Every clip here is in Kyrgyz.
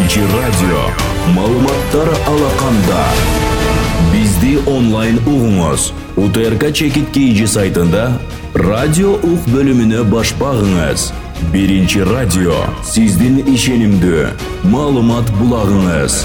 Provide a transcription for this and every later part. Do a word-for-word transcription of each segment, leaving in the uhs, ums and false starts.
Биринчи радио. Маалыматтар алаканда. Бизди онлайн угуңуз. УТРК Чекит Кийджи сайтында радио ук бөлүмүнө баш багыңыз. Биринчи радио. Сиздин ишенимдүү маалымат булагыңыз.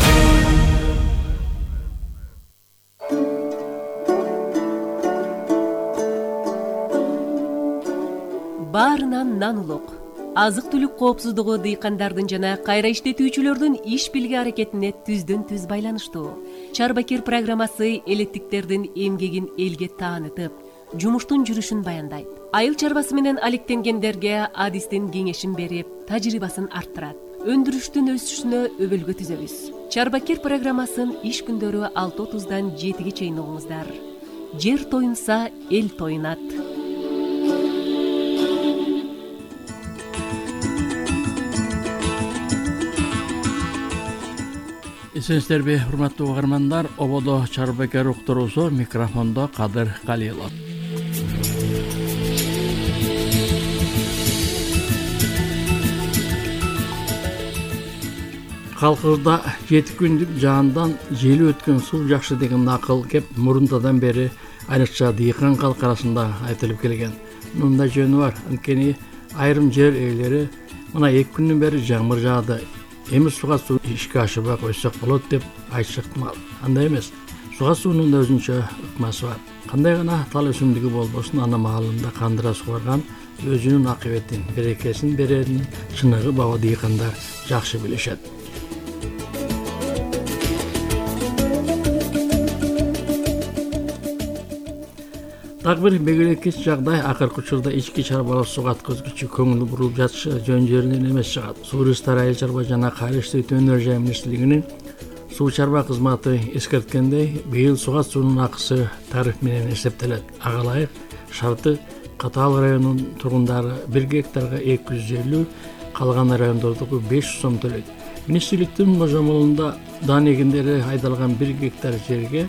Баарынан нан улук. Азык-түлүк коопсуздугу дыйкандардын жана кайра иштетүүчүлөрдүн иш билге аракетине түздөн түз байланыштуу. Чарбакер программасы элеттиктердин эмгегин элге таанытып, жумуштун жүрүшүн баяндайт. Айыл чарбасы менен алектенгендерге адистин кеңешин берип, тажрыйбасын арттырат. Өндүрүштүн өсүшүнө өбөлгө түзөбүз. Чарбакер программасын иш күндөрү алты отуздан жетиге чейин угуңуздар. Жер тоюнса, эл тоюнат. Эсенсиздерби, урматтуу угармандар, ободо Чарбакер уктуруусу, микрофондо Кадыр Калилов. Калкыбызда жети күндүк жаандан жели өткөн суу жакшы деген акыл кеп мурунтадан бери айрыкча дыйкан калк арасында айтылып келген. Мындай жөнү бар, анткени айрым жер ээлери мына эки күндөн бери жамыр жаады. Эми суга суу ишке ашыбай койсок болот деп айтышат. Андай эмес. Суга суунун да өзүнчө ыкмасы бар. Кандай гана тал өсүмдүгү болбосун, ана маалында кандыра сугарган өзүнүн акыбетин, берекесин берерин чыныгы баба дыйкандар жакшы билишет. Так бир бегереккич жагдай акыркы учурда ички чарбалык суга аткызгычы көңүл буруп жатышы жөн жеринен эмес чыгат. Суу ресурстар айыл чарба жана кайра иштетүү өнөр-жай министрлигинин суу чарба кызматы эскерткендей, быйыл суга суунун акысы тариф менен эсептелет. Ага ылайык шарты Катаал районунун тургундары бир гектарга эки жүз элүү, калган райондордогу беш жүз сом төлөйт. Министрликтин божомолунда дан эгиндери айдалган бир гектар жерге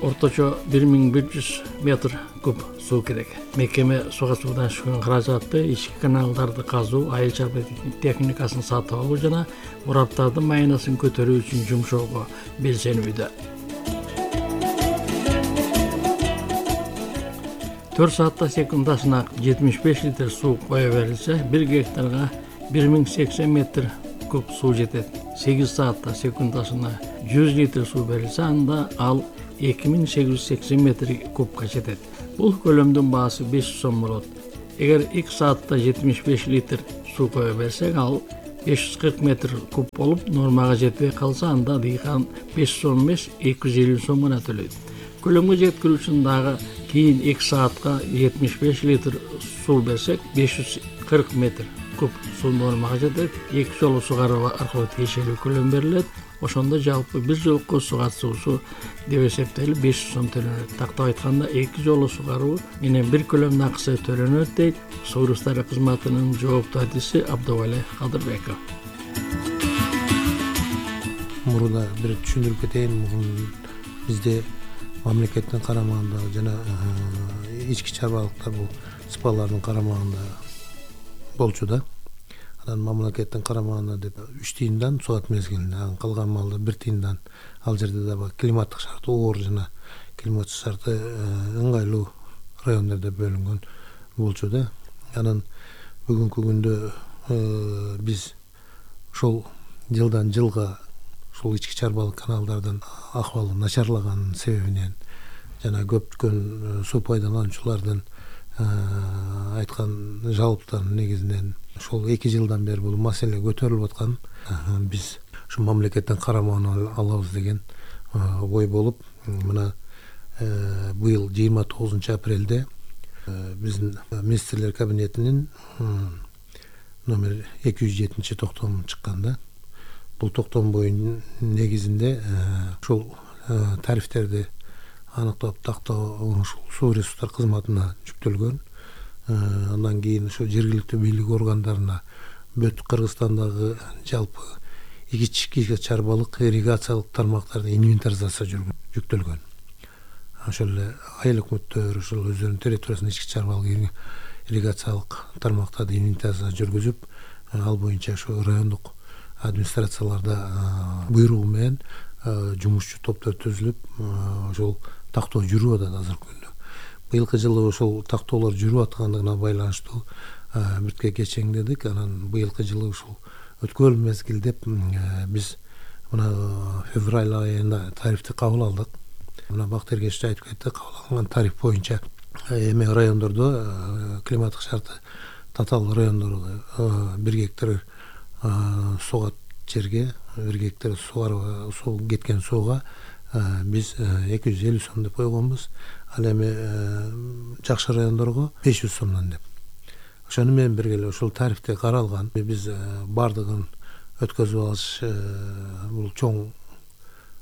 орточо бир миң бир жүз метр куб суу керек. Мекеме суга суудан түшкөн каражатты ички каналдарды казуу, айыл чарба техникасын сатып алуу жана мураптардын майынасын көтөрүү үчүн жумшоого белсенүүдө. төрт саатта секундасына жетимиш беш литр суу кое берилсе, бир гектарга бир миң сексен метр куб суу жетет. сегиз саатта секундасына жүз литр суу берилсе, анда ал эки миң сегиз жүз сексен метр кубка жетет. Бул көлөмдүн баасы беш жүз сом болот. Эгер эки саатта жетимиш беш литр суу кое берсек, ал беш жүз кырк метр куб болуп, нормага жетпей калса, анда дыйкан беш жүз сом эмес, эки жүз элүү сом гана төлөйт. Көлөмгө жеткирүү үчүн дагы кийин эки саатка жетимиш беш литр суу берсек, беш жүз кырк метр куб суу нормага жетет. Эки жолу сугаруу аркылуу тиешелүү көлөм берилет. Ошондо жалпы бир жолку суга суусу деп эсептелип беш жүз сом төлөнөт. Тактап айтканда эки жолу сугаруу менен бир көлөмдүн акысы төлөнөт дейт Суу ресурстары кызматынын жооптуу адиси Абдывали Кадырбеков. Мурда бир түшүндүрүп кетейин. Бизде мамлекеттин карамагында жана ички чарбалыктар бул спалардын карамагында болчу да. Анан мамлекеттин карамагында деп үч тыйындан суат мезгилинде, калган малда бир тыйындан. Ал жерде да климаттык шарты оор жана климаттык шарты ыңгайлуу райондордо бөлүнгөн болчу да. Анан бүгүнкү күндө биз ошол жылдан жылга ушул ички чарбалык каналдардын акыбалы начарлаган себебинен жана көптөгөн суу пайдалануучулардын айткан жалоптарынын негизинен ошол эки жылдан бери бул маселе көтөрүлүп аткан. Биз ушу мамлекеттин карамагына алабыз деген ой болуп, мына быйыл жыйырма тогузунчу апрелде биздин министрлер кабинетинин номер эки жүз жетинчи токтому чыккан да. Бул токтом боюнча негизинде ушул тарифтерди аныктап тактоо ушул суу ресурстар кызматына жүктөлгөн. Андан кийин ошо жергиликтүү бийлик органдарына бүт Кыргызстандагы жалпы ички чарбалык ирригациялык тармактарды инвентаризация жүктөлгөн. Ошол эле айыл өкмөттөр ошол өздөрүнүн территориясында ички чарбалык ирригациялык тармактарды инвентаризация жүргүзүп, ал боюнча ошо райондук администрацияларда буйругу менен жумушчу топтор түзүлүп ошол тактоо жүрүп атат азыркы күндө. Быйылкы жылы ошол тактоолор жүрүп аткандыгына байланыштуу биртке кечеңдедик. Анан быйылкы жылы ушул өткөн мезгил деп биз мына февраль айында тарифти кабыл алдык. Мына Бактыгер Кечишов айтып кетти, кабыл алынган тариф боюнча эми райондордо климаттык шарты татаал райондордо бир гектар сугат жерге, бир гектар сугарып суу кеткен сууга биз эки жүз элүү сом деп койгонбуз. Ал эми жакшы райондорго беш жүз сомдон деп. Ошону менен бирге эле ушул тарифте каралган. Биз бардыгын өткөзүп алыш бул чоң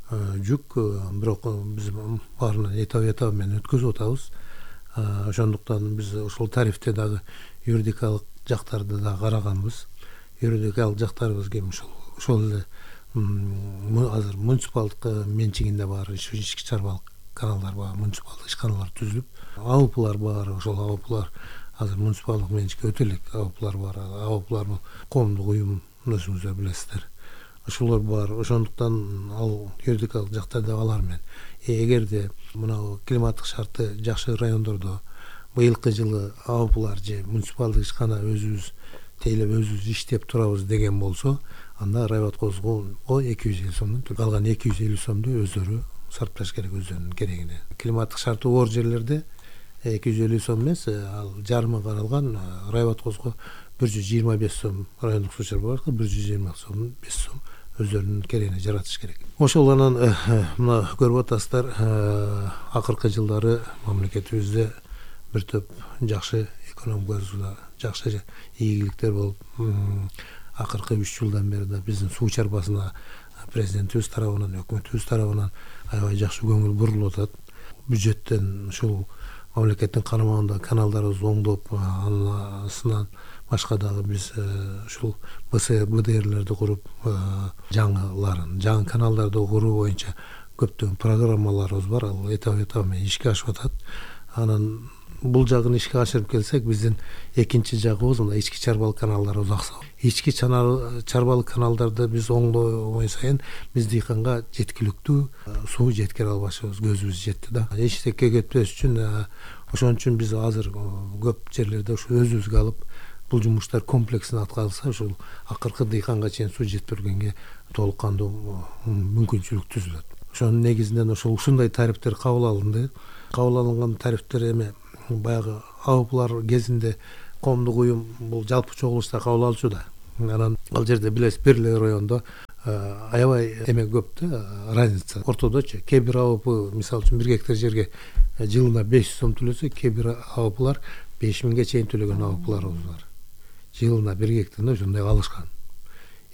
жүк, бирок биз баарына этап этап менен өткөзүп атабыз. Ошондуктан биз ушул тарифте дагы юридикалык жактарды да караганбыз. Юридикалык жактарыбыз кем ушул ошол эле азыр муниципалдык менчигинде бар ички чарбалык каналдар бар, муниципалдык ишканалар түзүлүп, АОПлар бар. Ошол АОПлар азыр муниципалдык менчикке өтө элек АОПлар бар. АОПлар бул коомдук уюм, өзүңүздөр билесиздер. Ошолор бар. Ошондуктан ал юридикалык жактарда алар менен. Эгерде мына климаттык шарты жакшы райондордо быйылкы жылы АОПлар же муниципалдык ишкана өзүбүз тейлеп өзүбүз иштеп турабыз деген болсо, анда райбаткозго эки жүз элүү сомдон төлөйт. Калган эки жүз элүү сомду өздөрү сарпташ керек өзүнүн керегине. Климаттык шарты оор жерлерде эки жүз элүү сом эмес, ал жарымы каралган райбаткозго бир жүз жыйырма беш сом, райондук суу чарба барга бир жүз жыйырма сом, беш сом өздөрүнүн керегине жаратыш керек. Ошол анан мына көрүп атасыздар, акыркы жылдары мамлекетибизде бир топ жакшы экономикабызда жакшы ийгиликтер болуп, акыркы үч жылдан бери да биздин суу чарбасына президентибиз тарабынан, өкмөтүбүз тарабынан аябай жакшы көңүл бурулуп атат. Бюджеттен ушул мамлекеттин карамагындагы каналдарыбыз оңдоп, анысынан башка дагы биз ушул БДРлерди куруп, жаңыларын, жаңы каналдарды куруу боюнча көптөгөн программаларыбыз бар. Ал этап этап менен ишке ашып атат. Анан бул жагын ишке ашырып келсек, биздин экинчи жагыбыз мына ички чарбалык каналдарыбыз аксап. Ички чарбалык каналдарды биз оңдобой сайын биз дыйканга жеткиликтүү суу жеткире албашыбыз, көзүбүз жетти да. Эчтекке кетпеш үчүн ошон үчүн биз азыр көп жерлерде ушу өзүбүзгө алып бул жумуштар комплексин аткарылса, ушул акыркы дыйканга чейин суу жетип бергенге толук кандуу мүмкүнчүлүк түзүлөт. Ошонун негизинен ошол ушундай тарифтер кабыл алынды. Кабыл алынган тарифтер эми баягы АОПлар кезинде коомдук уюм бул жалпы чогулушта кабыл алчу да. Анан ал жерде билесиз, бир эле райондо аябай эме көп да, разница. Ортодочу кээ бир АОП, мисалы үчүн, бир гектар жерге жылына беш жүз сом төлөсө, кээ бир АОПлар беш миңге чейин төлөгөн АОПларыбыз бар. Жылына бир гектарына ошондой алышкан.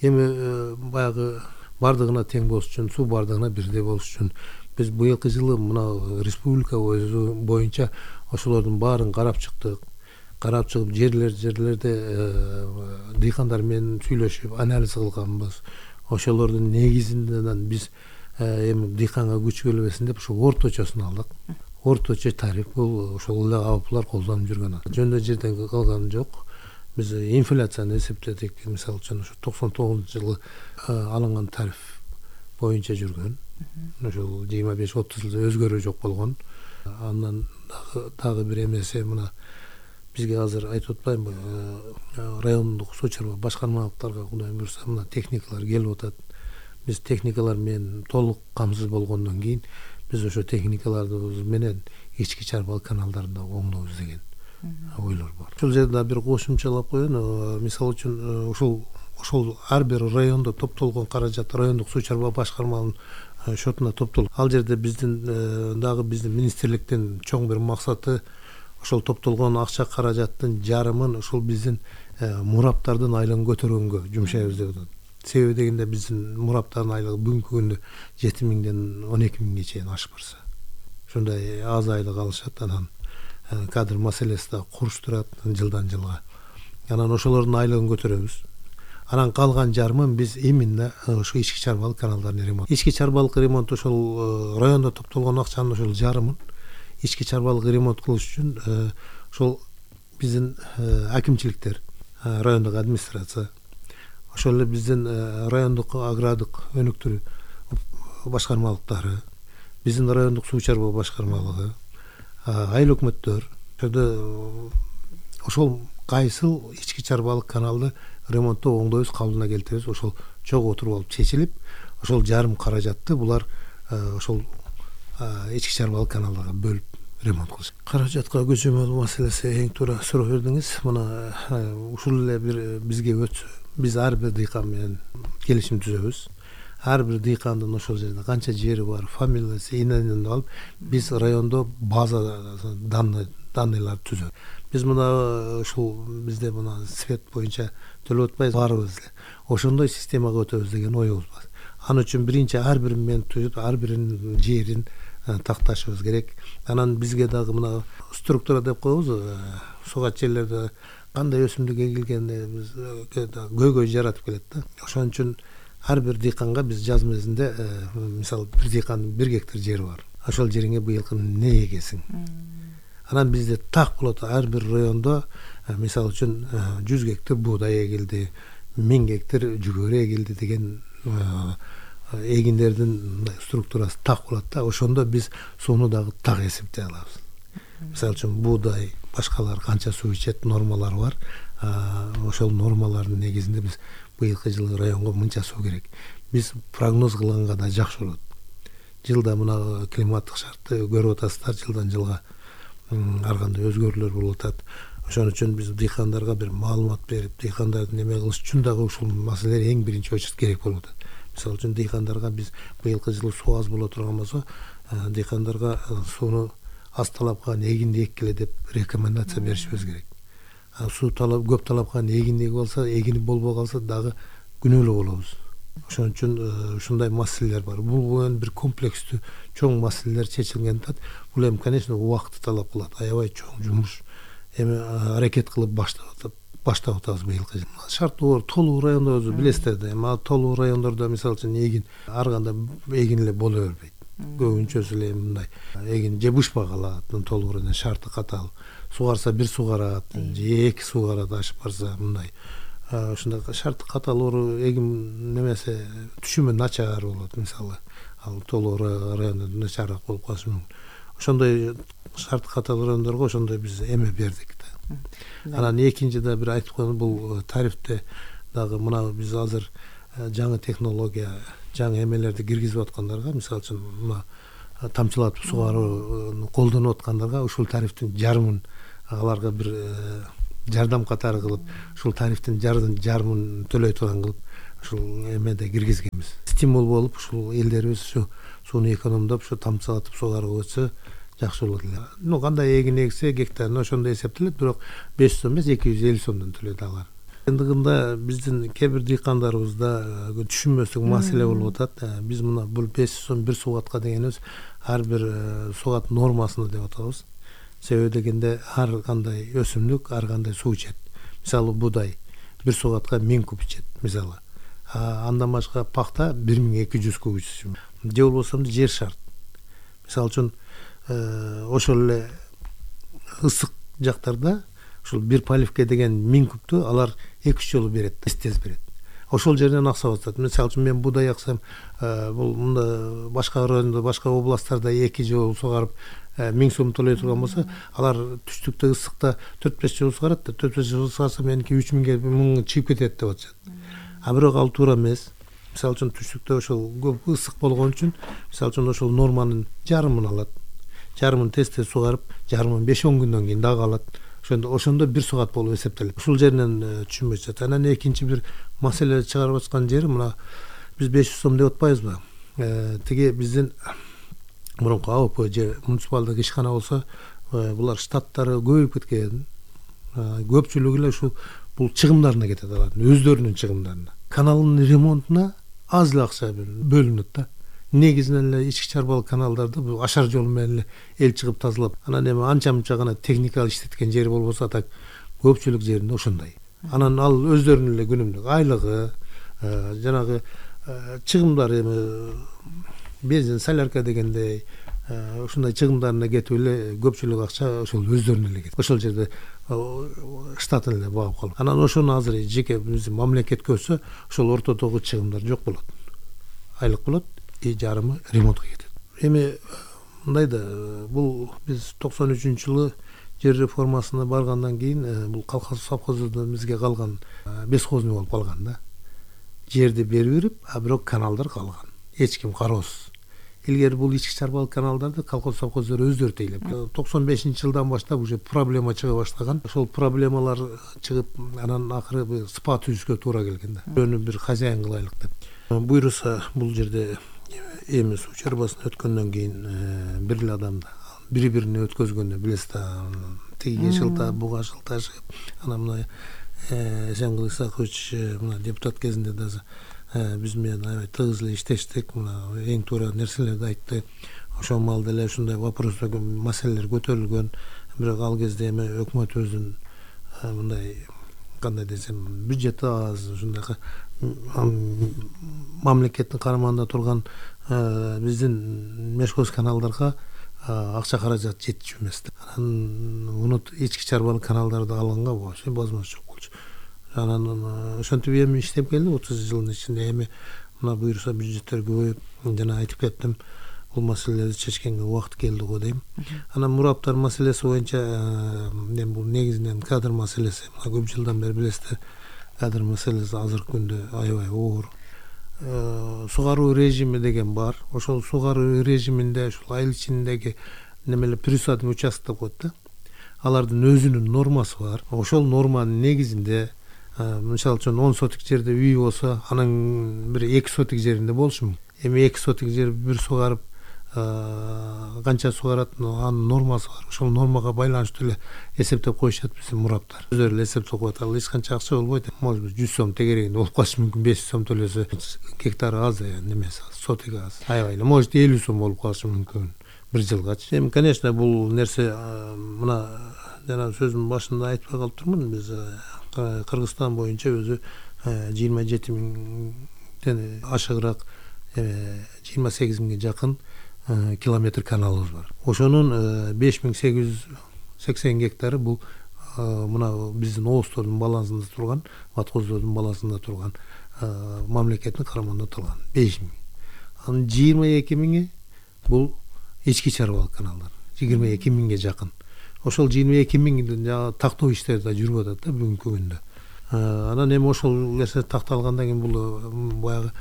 Эми баягы бардыгына тең болуш үчүн, суу бардыгына бирдей болуш үчүн биз быйылкы жылы мына республика боюнча ошолордун баарын карап чыктык. Карап чыгып жерлер жерлерде дыйкандар менен сүйлөшүп анализ кылганбыз. Ошолордун негизинен биз эми дыйканга күч келбесин деп ушу орточосун алдык. Орточо тариф бул ошол эле АОПлар колдонуп жүргөн. Жөндө жерден калган жок. Биз инфляцияны эсептедик. Мисалы үчүн ушу токсон тогузунчу жылы алынган тариф боюнча жүргөн. Ошол жыйырма беш отуз жылда өзгөрүү жок болгон. Андан дагы бир эмеси мына бизге азыр айтып атпаймынбы, райондук суу чарба башкармалыктарга кудай буюрса мына техникалар келип атат. Биз техникалар менен толук камсыз болгондон кийин биз ошо техникаларды менен ички чарбалык каналдарды оңдойбуз деген ойлор бар. Ошол жерде бир кошумчалап коеюн. Мисалы үчүн ушул ошол ар бир райондо топтолгон каражат райондук суу чарба башкармалыгынын шотуна топтолот. Ал жерде биздин дагы биздин министрликтин чоң бир максаты ошол топтолгон акча каражаттын жарымын ошол биздин мураптардын айлыгын көтөргөнгө жумшайбыз деп атат. Себеби дегенде биздин мураптардын айлыгы бүгүнкү күндө жети миңден он эки миңге чейин ашып барса. Ошондой аз айлык алышат. Анан кадр маселеси да куруш турат жылдан жылга. Анан ошолордун айлыгын көтөрөбүз. Анан калган жарымын биз именно ошо ички чарбалык каналдарын ремонт. Ички чарбалык ремонт ошол райондо топтолгон акчанын ошол жарымын ички чарбалык ремонт кылыш үчүн ошол биздин акимчиликтер, райондук администрация, ошол эле биздин райондук агрардык өнүктүрүү башкармалыктары, биздин райондук суу чарбоо башкармалыгы, айыл өкмөттөр ошол кайсыл ички чарбалык каналды ремонттоо оңдойбуз, калыбына келтиребиз, ошол чогуу отуруп алып чечилип, ошол жарым каражатты булар ошол ички чарбалык каналдарга бөлүп ремонт кылыш. Каражатка көчөмөл маселеси эң туура суроо бердиңиз. Мына ушул эле бир бизге өтсө, биз ар бир дыйкан менен келишим түзөбүз. Ар бир дыйкандын ошол жерде канча жери бар, фамилиясы, иненин алып, биз райондо база данный данныйлар түзөбүз. Биз мына ушул бизде мына свет боюнча төлөп атпайбыз баарыбыз эле. Ошондой системага өтөбүз деген оюбуз бар. Аны үчүн биринчи ар бир мен түзүп, ар биринин жерин такташыбыз керек. Анан бизге дагы мына структура деп коебуз, сугат жерлерде кандай өсүмдүк эгилген биз көйгөй жаратып келет да. Ошон үчүн ар бир дыйканга биз жаз мезгилинде, мисалы, бир дыйкандын бир гектар жери бар. Ошол жериңе быйылкы эмне эгесиң? Анан бизде так болот, ар бир райондо, мисалы үчүн жүз гектар буудай эгилди, миң гектар жүгөрү эгилди деген эгиндердин структурасы так болот да. Ошондо биз сууну дагы так эсептей алабыз. Мисалы үчүн буудай, башкалар канча суу ичет, нормалары бар. Ошол нормалардын негизинде биз быйылкы жылы районго мынча суу керек. Биз прогноз кылганга да жакшы болот. Жылда мына климаттык шартты көрүп атасыздар, жылдан жылга ар кандай өзгөрүүлөр болуп атат. Ошон үчүн биз дыйкандарга бир маалымат берип, дыйкандарды неме кылыш үчүн дагы ушул маселелер эң биринчи очередь керек болуп атат. Мисалы үчүн дыйкандарга биз быйылкы жылы суу аз боло турган болсо, дыйкандарга сууну аз талапкан эгинди эккиле деп рекомендация беришибиз керек. Суу талап көп талапкан эгиндиги болсо, эгини болбой калса дагы күнөөлүү болобуз. Ошон үчүн ушундай маселелер бар. Бул эми бир комплекстүү чоң маселелер чечилген да. Бул эми, конечно, убакытты талап кылат. Аябай чоң жумуш. Эми аракет кылып баштап атат. Баштап атабыз быйылкы жылы. Шарттуу толуу райондорду билесиздер да. Эми толуу райондордо мисалы үчүн эгин ар кандай эгин эле боло бербейт. Көбүнчөсү эле мындай эгин же бышпай калат, толуу райондо шарты катал. Сугарса бир сугарат, же эки сугарат ашып барса мындай. Ушундай шарты катал эгин немесе түшүмү начар болот, мисалы. Ал толуу райондо начарыраак болуп калышы мүмкүн. Ошондой шарты катал райондорго ошондой биз эме бердик да. Анан экинчи да бир айтып коеюн, бул тарифте дагы мына биз азыр жаңы технология, жаңы эмелерди киргизип аткандарга, мисалы үчүн мына тамчылатып сугарууну колдонуп аткандарга ушул тарифтин жарымын аларга бир жардам катары кылып, ушул тарифтин жарымын төлөй турган кылып ушул эмеде киргизгенбиз. Стимул болуп ушул элдерибиз ушу сууну экономдоп, ушу тамчылатып сугарууга өтсө жакшы болот эле. Ну кандай эгин эгсе гектарына ошондой эсептелет, бирок беш жүз сом эмес, эки жүз элүү сомдон төлөйт алар. Ендигинде биздин кээ бир дыйкандарыбызда түшүнбөстүк маселе болуп атат. Биз мына бул беш жүз сом бир сугатка дегенибиз ар бир сугат нормасына деп атабыз. Себеби дегенде ар кандай өсүмдүк ар кандай суу ичет. Мисалы буудай бир сугатка миң куб ичет, мисалы. Андан башка пахта бир миң эки жүз куб ичет. Же болбосо жер шарт. Мисалы үчүн ошол эле ысык жактарда ушул бир поливке деген миң кубту алар эки үч жолу берет, тез берет. Ошол жерден акча атат. Мисалы үчүн мен буудай аксам, бул мында башка райондо, башка областтарда эки жолу сугарып миң сом төлөй турган болсо, алар түштүктө ысыкта төрт беш жолу сугарат да, төрт беш жолу сугарса меники үч миңге миң чыгып кетет деп атышат. А бирок ал туура эмес. Мисалы үчүн түштүктө ошол көп ысык болгон үчүн, мисалы үчүн ошол норманын жарымын алат. Жарымын тез-тез сугарып, жарымын беш он күндөн кийин дагы алат. Ошондо ошондо бир сугат болуп эсептелет. Ушул жеринен түшүнбөй жатат. Анан экинчи бир маселе чыгарып аткан жери мына биз беш жүз сом деп атпайбызбы? Тиги биздин мурунку АОП же муниципалдык ишкана болсо, булар штаттары көбөйүп кеткен. Көпчүлүгү эле ушул бул чыгымдарына кетет алардын, өздөрүнүн чыгымдарына. Каналдын ремонтуна аз эле акча бөлүнөт да. Негизинен эле ички чарбалык каналдарды бул ашар жол менен эле эл чыгып тазалап, анан эми анча-мынча гана техникалык иштеткен жери болбосо, так көпчүлүк жеринде ошондой. Анан ал өздөрүнүн эле күнүмдүк айлыгы, жанагы чыгымдары, эми бензин, солярка дегендей, ушундай чыгымдарына кетип эле көпчүлүк акча ошол өздөрүнө эле кетет. Ошол жерде штатын эле багып калып. Анан ошону азыр жеке биздин мамлекет көрсө, ошол ортодогу чыгымдар жок болот. Айлык болот, и жарымы ремонтко кетет. Эми мындай да, бул биз токсон үчүнчү жылы жер реформасына баргандан кийин бул колхоз совхоздордон бизге калган бесхозный болуп калган да. Жерди берип берип, а бирок каналдар калган. Эч ким кароосуз. Илгери бул ички чарбалык каналдарды колхоз совхоздор өздөрү тейлеп. токсон бешинчи жылдан баштап уже проблема чыга баштаган. Ошол проблемалар чыгып, анан акыры спа түзүшкө туура келген да. Бирөөнү бир хозяин кылайлык деп. Буйруса бул жерде эми суу чарбасын өткөндөн кийин бир эле адамды бири-бирине өткөзгөндө билесиз да, тиги жылта, буга жылташып, анан мына Эсенкул Исакович мына депутат кезинде да биз менен аябай тыгыз эле иштештик, мына эң туура нерселерди айтты. Ошол маалда эле ушундай вопростор, маселелер көтөрүлгөн. Бирок ал кезде эми өкмөтүбүздүн мындай кандай десем, бюджети аз, ушундай мамлекеттин карамагында турган биздин мешхоз каналдарга акча каражат жетчү эмес. Анан муну ички чарбалык каналдарды алганга вообще возможность жок болчу. Анан ошентип эми иштеп келди отуз жылдын ичинде. Эми мына буюрса бюджеттер көбөйүп, жана айтып кеттим, бул маселелерди чечкенге убакыт келди го дейм. Анан мураптар маселеси боюнча эми бул негизинен кадр маселеси. Мына көп жылдан бери билесиздер, кадр маселеси азыркы күндө аябай оор. Сугаруу режими деген бар. Ошол сугаруу режиминде ушул айыл ичиндеги немелер присадный участок деп коет да. Алардын өзүнүн нормасы бар. Ошол норманын негизинде мисалы үчүн он сотик жерде үй болсо, анын бир эки сотик жеринде болушу мүмкүн. Эми эки сотик жер бир сугарып канча сугарат, анын нормасы бар. Ошол нормага байланыштуу эле эсептеп коюшат биздин мураптар. Өздөрү эле эсептеп коет. Ал эч канча акча болбойт. Может бир жүз сом тегерегинде болуп калышы мүмкүн. беш жүз сом төлөсө гектары аз, немеси сотиги аз. Аябай эле может элүү сом болуп калышы мүмкүн бир жылгачы. Эми конечно бул нерсе мына жана сөзүмдүн башында айтпай калыптырмын. Биз Кыргызстан боюнча өзү жыйырма жети миңден ашыгыраак жыйырма сегиз миңге жакын километр каналыбыз бар. Ошонун беш миң сегиз жүз сексен гектары бул мына биздин обоздордун балансында турган, ватхоздордун балансында турган, мамлекеттин карамагында турган беш миң. Анын жыйырма эки миңи бул ички чарбалык каналдар. жыйырма эки миңге жакын. Ошол жыйырма эки миңдин тактоо иштери да жүрүп атат да бүгүнкү күндө. Анан эми ошол нерсе такталгандан кийин бул баягы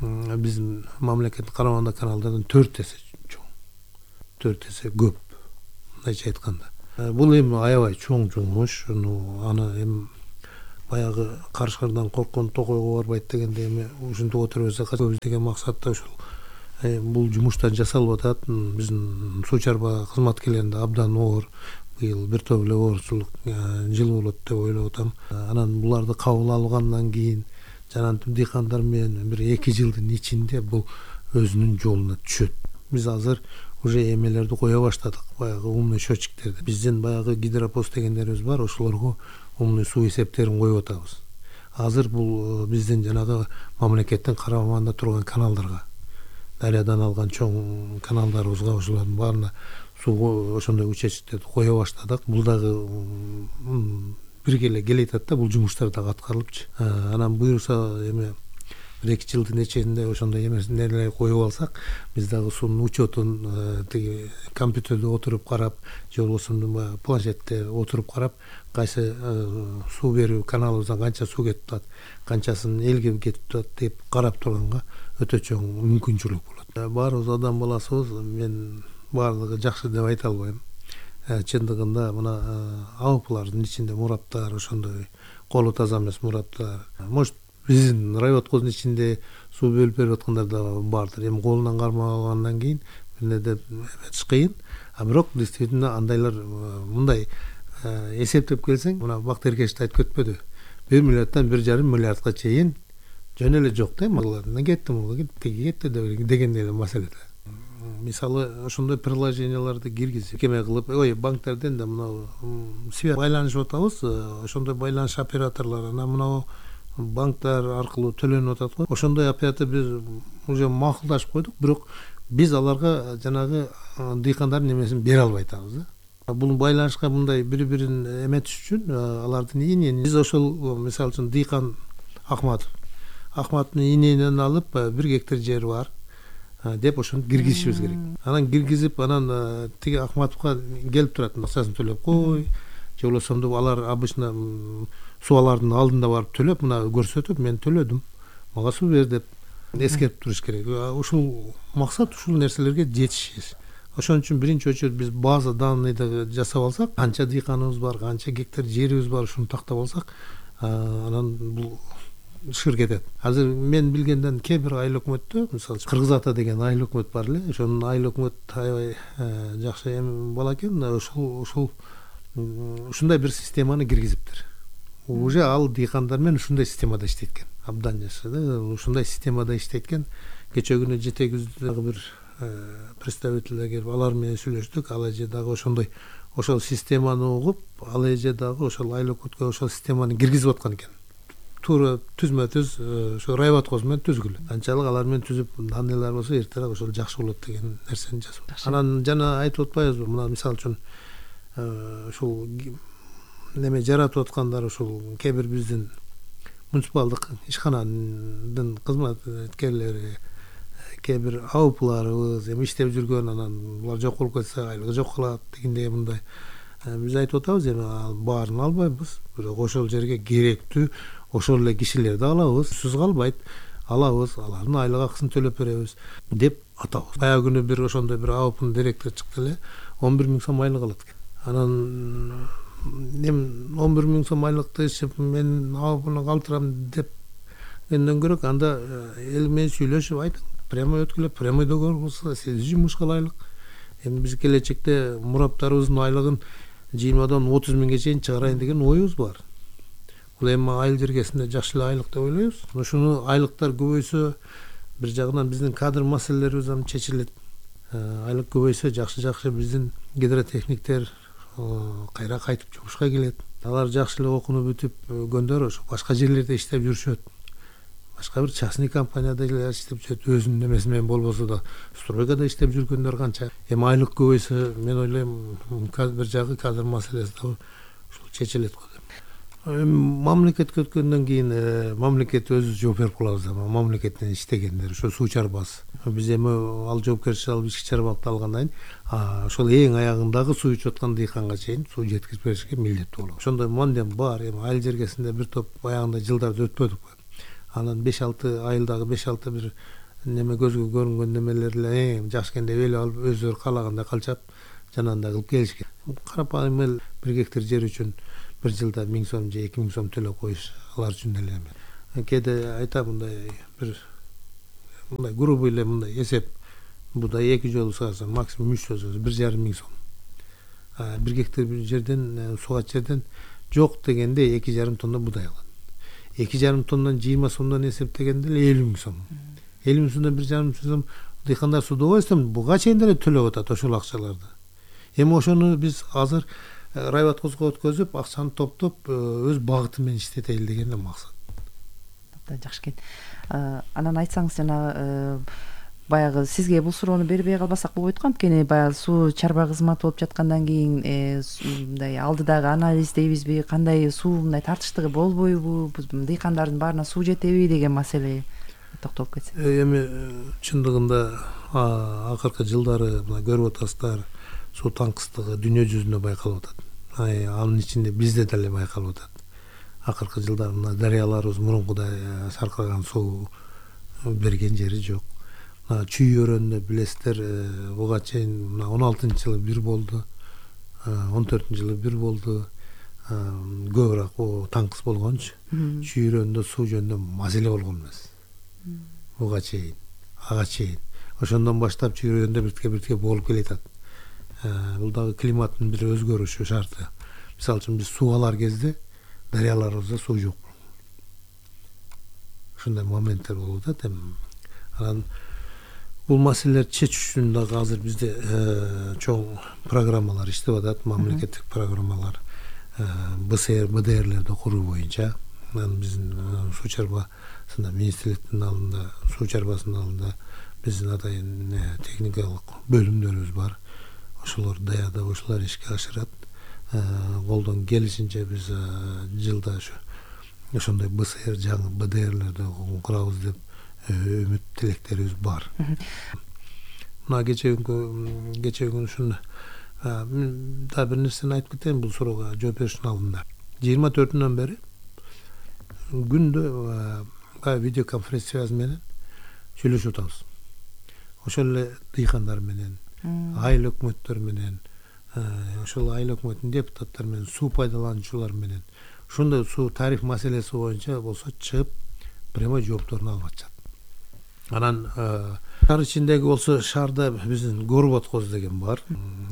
биздин мамлекеттин карамагында каналдардан төрт эсе чоң, төрт эсе көп, мындайча айтканда. Бул эми аябай чоң жумуш. Аны эми баягы карышкардан корккон токойго барбайт дегенде эми ушинтип отуруп атсак, деген максатта ушул бул жумуштар жасалып атат. Биздин суу чарба кызматкерлеринде абдан оор. Быйыл бир топ эле оорчулук жылы болот деп ойлоп атам. Анан буларды кабыл алгандан кийин жана дыйкандар менен бир эки жылдын ичинде бул өзүнүн жолуна түшөт. Биз азыр уже эмелерди кое баштадык, баягы умный счетчиктерди. Биздин баягы гидропост дегендерибиз бар, ошолорго умный суу эсептерин коюп атабыз. Азыр бул биздин жанагы мамлекеттин карамагында турган каналдарга, дарыядан алган чоң каналдарыбызга ошолордун баарына суу ошондой участоктерди кое баштадык. Бул дагы бирге эле келатат да, бул жумуштар дагы аткарылыпчы. Анан буюрса эми бир эки жылдын ичинде ошондой эмелер коюп алсак, биз дагы суунун учетун тиги компьютерде отуруп карап, же болбосо баягы планшетте отуруп карап, кайсы суу берүү каналыбыздан канча суу кетип атат, канчасын элге кетип атат деп карап турганга өтө чоң мүмкүнчүлүк болот. Баарыбыз адам баласыбыз, мен баардыгы жакшы деп айта албайм. Чындыгында мына АОПлардын ичинде мураптар, ошондой колу таза эмес мураптар, может биздин райоткоздун ичинде суу бөлүп берип аткандар да бардыр. Эми колунан кармагандан кийин эмне деп эметиш кыйын. А бирок действительно андайлар мындай эсептеп келсең, мына Бактыеркеш айтып кетпеди. бир миллиарддан бир жарым миллиардга чейин жөн эле жок да, мырларына кетти, муга кетти, кетти деген эле маселе да. Мисалы ошондой приложенияларды киргизип, кеме кылып, ой, банктерден да мына связь байланышып атабыз, ошондой байланыш операторлор, анан мына банктар аркылуу төлөнүп атат го. Ошондой оператор биз уже макулдашып койдук, бирок биз аларга жанагы дыйкандардын немесин бере албай атабыз да. Бул байланышка мындай бири бирин эметиш үчүн алардын ийнен биз ошол мисалы үчүн дыйкан Акматов Акматовдун ийненен алып бир гектар жери бар деп ошону киргизишибиз керек. Анан киргизип, анан тиги Акматовго келип турат, акчасын төлөп кой, же болбосо деп алар обычно субалардын алдында барып төлөп, мына көрсөтүп, мен төлөдүм, мага суу бер деп эскерип туруш керек. Ушул максат ушул нерселерге жетишиз. Ошон үчүн биринчи очередь биз база данныйды жасап алсак, канча дыйканыбыз бар, канча гектар жерибиз бар, ушуну тактап алсак, анан бул шыр кетет. Азыр мен билгенден кээ бир айыл өкмөттө, мисалы Кыргыз Ата деген айыл өкмөт бар эле. Ошонун айыл өкмөт аябай жакшы эми бала экен. Ошол ушул ушундай бир системаны киргизиптир. Уже ал дыйкандар менен ушундай системада иштейт экен. Абдан жакшы да, ушундай системада иштейт экен. Кече күнү Жете күздөгү бир представительдер келип алар менен сүйлөштүк. Ал эже дагы ошондой ошол системаны угуп, ал эже дагы ошол айыл өкмөткө ошол системаны киргизип аткан экен. Туура түзмө түз ошо райбаткоз менен түзгүлө. Канчалык алар менен түзүп данныйлар болсо эртерээк ошол жакшы болот деген нерсени жазып. Анан жана айтып атпайбызбы, мына мисалы үчүн ушул неме жаратып аткандар ушул кээ бир биздин муниципалдык ишкананын кызматкерлери, кээ бир АУПларыбыз эми иштеп жүргөн, анан булар жок болуп кетсе айлыгы жок калат дегендей мындай. Биз айтып атабыз, эми баарын албайбыз, бирок ошол жерге керектүү ошол эле кишилерди алабыз, сусуз калбайт, алабыз, алардын айлык акысын төлөп беребиз деп атабыз. Баягы күнү бир ошондой бир АУПнун директору чыкты эле, он бир миң сом айлык алат экен. Анан эми он бир миң сом айлыкты ишип мен АУПуну калтырам деп энден көрөк анда эл менен сүйлөшүп айтып, прямой өткүлөп, прямойдо көрсө сиз жумуш кылайлык. Эми биз келечекте мураптарыбыздын айлыгын жыйырмадан отуз миңге чейин чыгарайын деген оюбуз бар. Бул эми айыл жергесинде жакшы эле айлык деп ойлойбуз. Ушуну айлыктар көбөйсө, бир жагынан биздин кадр маселелерибиз ам чечилет. Айлык көбөйсө жакшы-жакшы биздин гидротехниктер кайра кайтып жумушка келет. Алар жакшы эле окууну бүтүп көгөндөр ошо башка жерлерде иштеп жүрүшөт. Башка бир частный компанияда иштеп жүрөт, өзүнүн немеси менен болбосо да стройкада иштеп жүргөндөр канча. Эми айлык көбөйсө, мен ойлойм, бир жагы кадр маселеси да ушул чечилет го деп. Мамлекетке өткөндөн кийин мамлекет өзү жооп берип калабыз да, мамлекеттен иштегендер, ошо суу чарбасы. Биз эми ал жоопкерчилик алып ички чарбалыкты алгандан кийин ошол эң аягындагы суу ичип аткан дыйканга чейин суу жеткизип беришке милдеттүү болобуз. Ошондой мандем бар. Эми айыл жергесинде бир топ баягындай жылдарды өтпөдүк. Анан беш алты айылдагы беш алты бир неме көзгө көрүнгөн немелер эле жакшы экен деп эл алып өздөрү каалагандай калчап жанагындай кылып келишкен. Карапайым эл бир гектар жер үчүн бир жылда миң сом же эки миң сом төлөп коюш алар үчүн эле эми. Кээде айтам, мындай бир мындай грубый эле мындай эсеп, будай эки жолу сааса максимум үч жолу бир жарым миң сом. Бир гектар жерден сугат жерден жок дегенде эки жарым тонна будай алат. эки жарым тоннадан жыйырма сомдон эсептегенде эле элүү миң сом. элүү миң сомдон бир жарым сом дыйкандар сууду койсом, буга чейин деле төлөп атат ошол акчаларды. Эми ошону биз азыр райбаткозго өткөзүп, акчаны топтоп өз багыты менен иштетели деген эле максат. Абдан жакшы экен. Анан айтсаңыз, жана баягы сизге бул суроону бербей калбасак болбойт го, анткени баягы суу чарба кызматы болуп жаткандан кийин мындай алдыдагы анализ дейбизби, кандай суу мындай тартыштыгы болбойбу, дыйкандардын баарына суу жетеби деген маселе токтолуп кетсек. Эми чындыгында акыркы жылдары мына көрүп атасыздар, суу таңкыстыгы дүйнө жүзүндө байкалып атат. Анын ичинде бизде деле байкалып атат. Акыркы жылдары мына дарыяларыбыз мурункудай саркыраган суу берген жери жок. Чүй өрөөнүндө билесиздер, буга чейин мына он алтынчы жылы бир болду, он төртүнчү жылы бир болду. Көбүрөөк о таңкыс болгончу. Чүй өрөөнүндө суу жөнүндө маселе болгон эмес. Буга чейин, ага чейин. Ошондон баштап чүй өрөөнүндө биртке-биртке болуп келатат. Бул дагы климаттын бир өзгөрүшү шарты. Мисалы үчүн биз суу алар кезде дарыяларыбызда суу жок. Ошондой моменттер болуп атат. Анан бул маселелерди чечиш үчүн дагы азыр бизде чоң программалар иштеп атат, мамлекеттик программалар, БСР, БДРлерди куруу боюнча. анан биздин суу чарбасында министрликтин алдында, суу чарбасынын алдында биздин атайын техникалык бөлүмдөрүбүз бар. Ошолор даярдап, ошолор ишке ашырат. Колдон келишинче биз жылда ошо ошондой БСР жаңы БДРлерди курабыз деп үмүт тилектерибиз бар. Мына кечеги күнкү кечеги күнү ушуну да бир нерсени айтып кетейин бул суроого жооп бериштин алдында. жыйырма төртүнөн бери күндө видеоконференц связь менен сүйлөшүп атабыз. Ошол эле дыйкандар менен, айыл өкмөттөр менен, ошол айыл өкмөтүнүн депутаттары менен, суу пайдалануучулар менен, ушундай суу тариф маселеси боюнча болсо чыгып прямой жоопторун алып атышат. Анан шаар ичиндеги болсо шаарда биздин Горводкоз деген бар.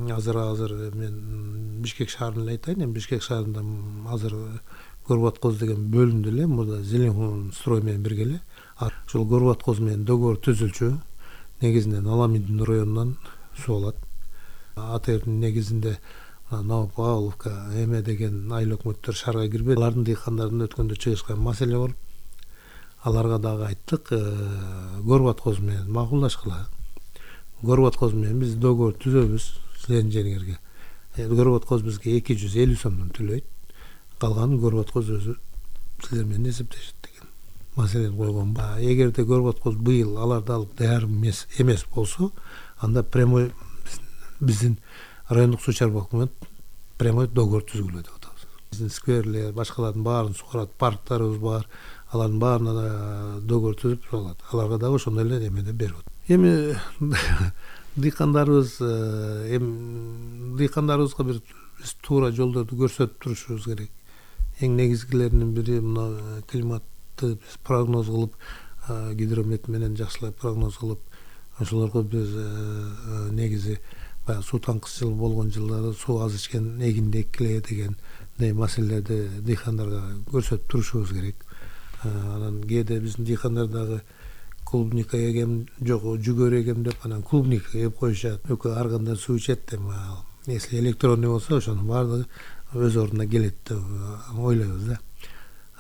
Азыр азыр мен Бишкек шаарын эле айтайын. Эми Бишкек шаарында азыр Горводкоз деген бөлүндү эле. Мурда Зеленхун строй менен бирге эле. Ошол Горводкоз менен договор түзүлчү. Негизинен Аламидин районунан суу алат. АТРдин негизинде Новопавловка, Эме деген айыл өкмөттөр шаарга кирбейт. Алардын дыйкандардын өткөндө чыгышкан маселе болуп, аларга дагы айттык, Горводкоз менен макулдашкыла. Горводкоз менен биз договор түзөбүз силердин жериңерге. Горводкоз бизге эки жүз элүү сомдон төлөйт. Калганын Горводкоз өзү силер менен эсептешет деген маселени койгон. Эгерде Горводкоз быйыл аларды алып даяр эмес эмес болсо, анда прямой биздин райондук суу чарба өкмөт прямой договор түзгүлө деп атабыз. Биздин скверлер, башкалардын баарын сугарат, парктарыбыз бар. Алардын баарына договор түзүп алат. Аларга дагы ошондой эле эмеде берип атат. Эми дыйкандарыбыз эми дыйкандарыбызга бир биз туура жолдорду көрсөтүп турушубуз керек. Эң негизгилеринин бири мына климатты биз прогноз кылып, гидромет менен жакшылап прогноз кылып, ошолорго биз негизи баягы суу таңкысчылык болгон жылдары суу аз ичкен эгинди эккиле деген маселелерди дыйкандарга көрсөтүп турушубуз керек. Анан кээде биздин дыйкандар дагы клубника эгем жок, жүгөр эгем деп анан клубника эп коюшат. Өкө ар кандай суу ичет деп, если электронный болсо ошонун баардыгы өз ордуна келет деп ойлойбуз да.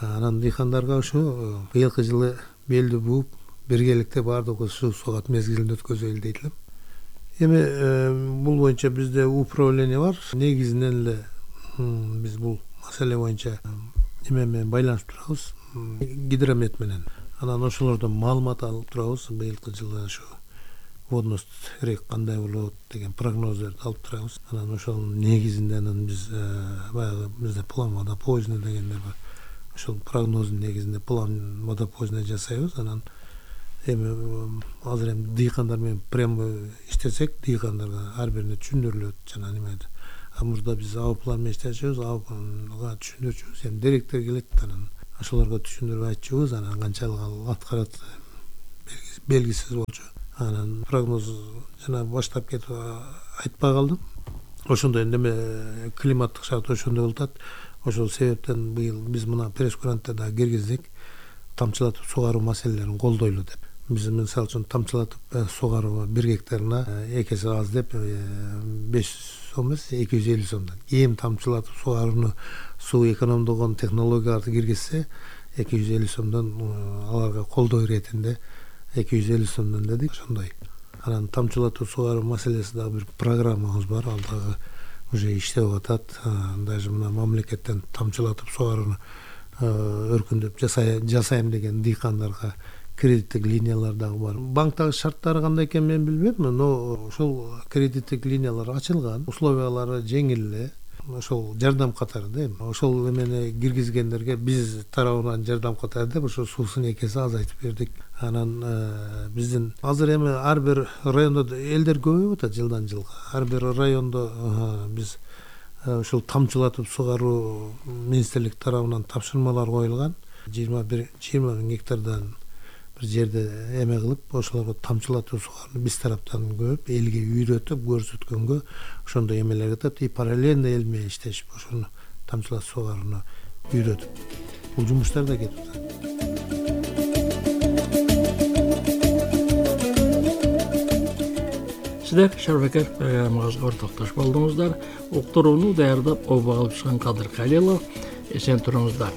Анан дыйкандарга ошо быйылкы жылы белди бууп, биргеликте баардыгы суу согат мезгилин өткөзөлү дейт элем. Эми бул боюнча бизде управление бар. Негизинен эле биз бул маселе боюнча эме менен байланышып турабыз, гидромет менен. Анан ошолордон маалымат алып турабыз. Быйылкы жылы ошо водность рек кандай болот деген прогноздорду алып турабыз. Анан ошонун негизинде анан биз баягы бизде план водопоезный дегендер бар. Ошол прогноздун негизинде план водопоезный жасайбыз. Анан эми азыр эми дыйкандар менен прямо иштесек, дыйкандарга ар бирине түшүндүрүлөт жана немеде. А мурда биз А план менен иштечүбүз, Ага түшүндүрчүбүз. Эми директор келет, анан ошолорго түшүндүрүп айтчубуз, анан канчалык ал аткарат белгисиз болчу. Анан прогноз жана баштап кетип айтпай калдым. Ошондой неме климаттык шарт ошондой болуп атат. Ошол себептен быйыл биз мына пресс-конференцияда дагы киргиздик, тамчылатып сугаруу маселелерин колдойлу деп. Биз мисалы үчүн тамчылатып сугаруу бир гектарына эки эсе аз деп беш жүз сом эмес, эки жүз элүү сомдон. Эми тамчылатып сугарууну суу экономдогон технологияларды киргизсе, эки жүз элүү сомдон аларга колдоо иретинде эки жүз элүү сомдон дедик. Ошондой. Анан тамчылатып сугаруу маселеси дагы бир программабыз бар. Ал дагы уже иштеп атат. Даже мына мамлекеттен тамчылатып сугарууну өркүндөп жасайм деген дыйкандарга кредиттик линиялар дагы бар. Банктагы шарттары кандай экенин мен билбейм, но ошол кредиттик линиялар ачылган, условиялары жеңил эле. Ошол жардам катары да эми. Ошол эмени киргизгендерге биз тарабынан жардам катары деп ошо суусун эки эсе азайтып бердик. Анан биздин азыр эми ар бир райондо элдер көбөйүп атат жылдан жылга. Ар бир райондо биз ошол тамчылатып сугаруу министрлик тарабынан тапшырмалар коюлган. жыйырма бир жыйырма миң гектардан бир жерде эме кылып, ошолорго тамчылатып сугарууну биз тараптан көрүп, элге үйрөтүп көрсөткөнгө ошондой эмелер кетет. И параллельно эл менен иштешип ошону тамчылатып сугарууну үйрөтүп бул жумуштар да кетип атат. Сиздер Шарбакер программабызга ортоктош болдуңуздар. Уктурууну даярдап, обо алып чыккан Кадыр Калилов. Эсен туруңуздар.